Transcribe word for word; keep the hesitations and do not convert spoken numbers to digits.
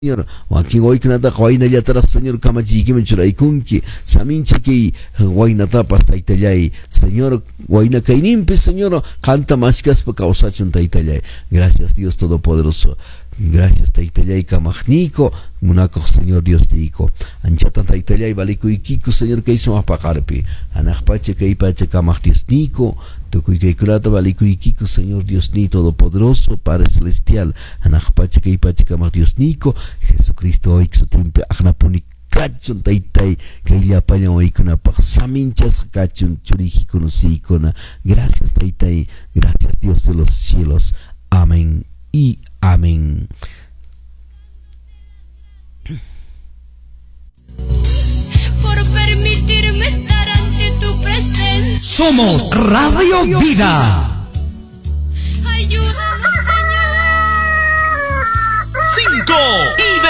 Señor, wakin waykunataqa waynallataraq Señor kamachiykiman churaykunki, samincha kay waynatapas taytallay, Señor, wayna kayninpi, Señor, qanta maskaspa kawsachun taytallay. Gracias Dios Todopoderoso. Gracias taytallay kamaqniyku, munakuq Señor Dios tiyku. Anchatan taytallay valikuykiku Señor kay sumaq paqarpi. Hanaq pacha kay pacha kamaq Diosniyku, tukuy kaykunata valikuykiku Señor Diosniy Todopoderoso, Padre Celestial. Hanaq pacha kay pacha kamaq Diosniyku, Jesucristo hoy sutinpi aqnapuni kachun taytay kay llapallan waykunapaq saminchasqa kachun churiykikuna siykuna. Gracias taytay, gracias Dios de los cielos. Amén y amén. Por permitirme estar ante tu presencia. Somos Radio Vida. Ayúdanos, Señor. Cinco y